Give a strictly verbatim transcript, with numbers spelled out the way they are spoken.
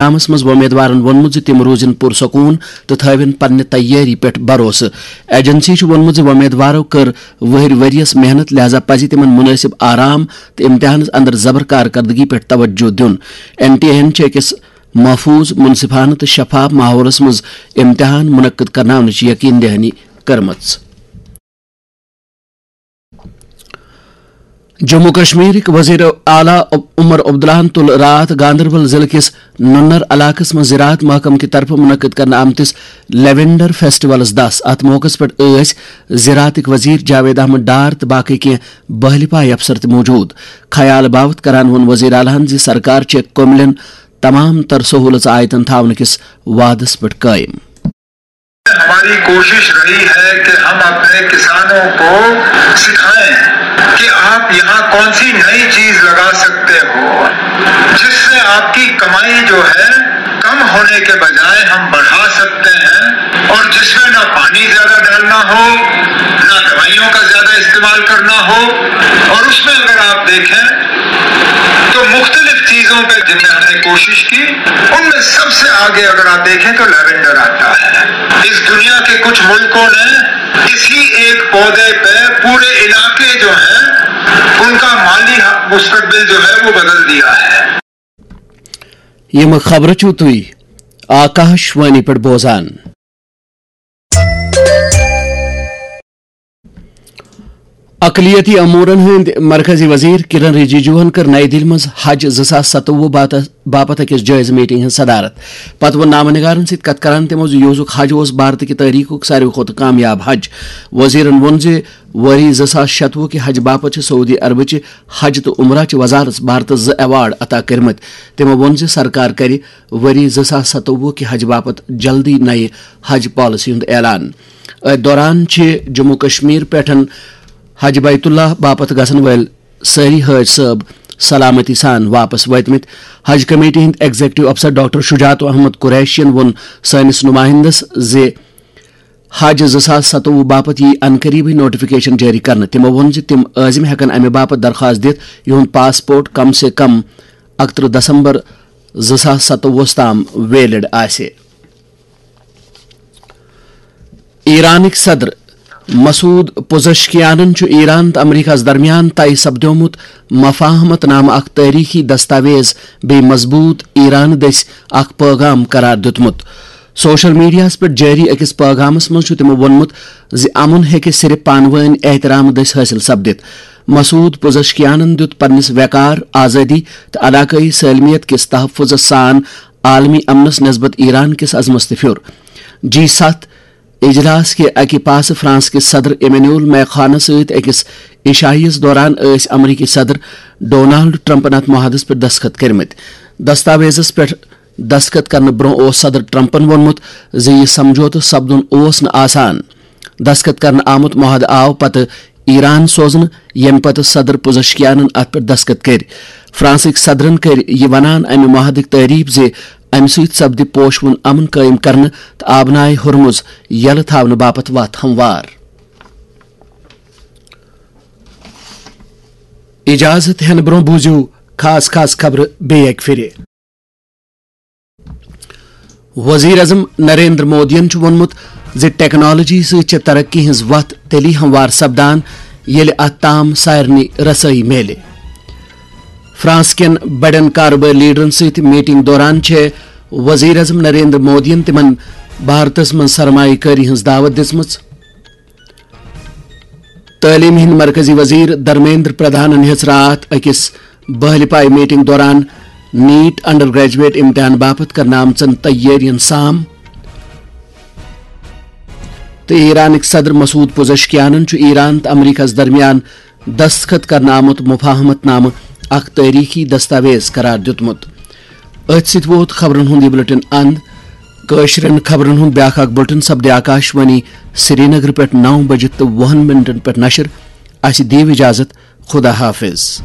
Programmes منٛز وۄمیدوارن ووٚنمُت زِ تِم روزن پرسکون تہٕ تھٲوِن پننہِ تیٲری پٮ۪ٹھ بھروسہٕ۔ ایجنسی چھُ ووٚنمُت زِ وۄمیدوارو کٔر وُہٕرۍ ؤرۍ یَس محنت، لہذا پزِ تِمن مناسب آرام تہٕ امتحانس اندر زبر کارکردگی پٮ۪ٹھ توجہ دیُن۔ این ٹی اے ہن چھِ أکِس محفوظ، منصفانہ تہٕ شفاف ماحولس منٛز امتحان منعقد کرناونٕچ یقین دہانی کٔرمٕژ۔ جموں کشمیرٕکۍ وزیر اعلیٰ عمر عبداللہن تُل راتھ گاندربل ضلعہٕ کِس نُنر علاقس منٛز زراعت محکمہٕ کہِ طرفہٕ منعقد کرنہٕ آمتِس لیونڈر فیسٹیولس دس۔ اتھ موقعس پٮ۪ٹھ ٲسۍ زراعتٕکۍ وزیر جاوید احمد ڈار تہٕ باقٕے کینٛہہ بہلہِ پایہِ افسر تہِ موجود۔ خیال باوت کران ووٚن وزیر اعلیٰ ہن زِ سرکار چھےٚ کٔملٮ۪ن تمام تر سہولژ آیتن تھاونہٕ کِس وعدس پٮ۪ٹھ قٲیِم۔ ہماری کوشش رہی ہے کہ ہم اپنے کسانوں کو سکھائیں کہ آپ یہاں کون سی نئی چیز لگا سکتے ہو، جس سے آپ کی کمائی جو ہے کم ہونے کے بجائے ہم بڑھا سکتے ہیں، اور جس میں نہ پانی زیادہ ڈالنا ہو، نہ دوائیوں کا زیادہ استعمال کرنا ہو۔ اور اس میں اگر آپ دیکھیں تو مختلف چیزوں پہ جن میں ہم نے کوشش کی، ان میں سب سے آگے اگر آپ دیکھیں تو لیونڈر آتا ہے۔ اس دنیا کے کچھ ملکوں نے اسی ایک پودے پہ پورے علاقے جو ہیں، ان کا مالی مستقبل جو ہے وہ بدل دیا ہے۔ یِم خبرٕ چھِو تُہۍ آکاش وانی پٮ۪ٹھ بوزان۔ اقلیتی امورن ہٕنٛدۍ مرکزی وزیر کرن رجیجوہن کٔر نئی دِلہِ منٛز حج زٕ ساس ستوُہ باپتھ أکِس جٲیزٕ میٹنگ ہٕنٛز صدارت۔ پتہٕ ووٚن نامہ نگارن سۭتۍ کتھ کران تِمو زِ یوسُک حج اوس بھارتہٕ کہِ تٲریخُک ساروی کھۄتہٕ کامیاب حج۔ وزیرن ووٚن زِ ؤری زٕ ساس شتوُہ کہِ حج باپتھ چھِ سعودی عربٕچہِ حج تہٕ عمرہ چہِ وزارت بھارتس زٕ ایوارڈ عطا کٔرمٕتۍ۔ تِمو ووٚن زِ سرکار کرِ ؤری زٕ ساس ستوُہ کہِ حج باپتھ جلدی نَیہِ حج پالیسی ہُنٛد اعلان۔ أتھۍ دوران چھِ جموں کشمیر پٮ۪ٹھ حج بیت اللہ باپتھ گژھن وٲلۍ سٲری حٲج صٲب سلامتی سان واپس وٲتمٕتۍ۔ حج کمیٹی ہٕنٛدۍ ایگزیکٹو افسر ڈاکٹر شجاعت احمد قریشین ووٚن سٲنِس نمائندس زِ حج زٕ ساس ستوُہ باپتھ یِیہِ عنقریبٕے نوٹیفکیشن جٲری کرنہٕ۔ تِمو ووٚن زِ تِم عٲزم ہٮ۪کن امہِ باپتھ درخواست دِتھ، یِہُنٛد پاسپورٹ کم سے کم اَکترٕہ دسمبر زٕ ساس ستوُہس تام ویلڈ آسہِ۔ ایرانٕکۍ صدر مسعود پوزشکیانن چھُ ایران تہٕ امریکہس درمیان طے سپدیومُت مفاہمت نامہٕ اکھ تٲریخی دستاویز بیٚیہِ مضبوط ایران دٔسۍ اکھ پیغام قرار دیُتمُت۔ سوشل میڈیاہَس پٮ۪ٹھ جٲری أکِس پٲغامَس منٛز چھُ تِمَو ووٚنمُت زِ امُن ہیٚکہِ صرف پانہٕ وٲنۍ احترام دٔسۍ حٲصِل سپدِتھ۔ مسعود پوزشکیانَن دیُت پننِس وقار، آزٲدی تہٕ علاقٲیی سٲلمیت کِس تحفظَس سان عالمی امنَس نسبت ایران کِس عزمَس تہِ پھیُر۔ جی ستھ اجلاس کہِ اکہِ پاسہٕ فرانس کِس صدر ایمینول میخانس سۭتۍ أکِس عشائیس دوران ٲسۍ امریکی صدر ڈونالڈ ٹرمپن اتھ معاہدس پٮ۪ٹھ دستخط کٔرمٕتۍ۔ دستاویزس پٮ۪ٹھ دستخط کرنہٕ برونٛہہ اوس صدر ٹرمپن ووٚنمُت زِ یہِ سمجھوتہٕ سپدُن اوس نہٕ آسان۔ دستخط کرنہٕ آمُت معاہدٕ آو پتہٕ ایران سوزنہٕ، ییٚمہِ پتہٕ صدر پوزشکیانن اتھ پٮ۪ٹھ دستخط کٔرۍ۔ فرانسٕکۍ صدرن کٔرۍ یہِ ونان امہِ معاہدٕکۍ تعریف زِ امہِ سۭتۍ سپدِ پوشوُن امن قٲیِم کرنہٕ تہٕ آبنائے ہرمز یلہٕ تھاونہٕ باپتھ وتھ ہموار۔ اجازت ہینہٕ برونٛہہ بوٗزِو خاص خاص خبرٕ بیٚیہِ اکہِ پھِرِ۔ وزیر اعظم نریندر مودیَن چھُ ووٚنمُت زِ ٹیکنالوجی سۭتۍ چھِ ترقی ہٕنٛز وتھ تیٚلی ہموار سپدان، ییٚلہِ اتھ تام سارنٕے رسٲیی میلہِ۔ فرانس کٮ۪ن بڑٮ۪ن کارٕبٲرۍ لیڈرن سۭتۍ میٹنگ دوران چھےٚ وزیر اعظم نریندر مودیَن تِمَن بھارتَس منٛز سرمایہ کٲری ہٕنٛز دعوت دِژمٕژ۔ تعلیٖم ہٕنٛدۍ مرکزی وزیر دھرمیندر پردھانن ہیٚژ راتھ أکِس بہلہِ پایہِ میٹنگ دوران نیٹ انڈر گریجویٹ امتحان باپتھ کرنہٕ آمژن تیٲرین سام۔ تہٕ ایرانٕکۍ صدر مسعود پوزشکیانن چھُ ایران تہٕ امریکہس درمیان دستخط کرنہٕ آمُت مفاہمت نامہٕ اکھ تٲریخی دستاویز قرار دیُتمُت۔ أتھۍ سۭتۍ ووت خبرن ہُنٛد یہِ بلیٹن اند۔ کٲشرٮ۪ن خبرن ہُنٛد بیاکھ اکھ بلیٹن سپدِ آکاش وانی سرینگر پٮ۪ٹھ نو بجہِ تہٕ وُہن منٹن پٮ۪ٹھ نشر۔ اسہِ دِیِو اجازت۔ خدا حافظ۔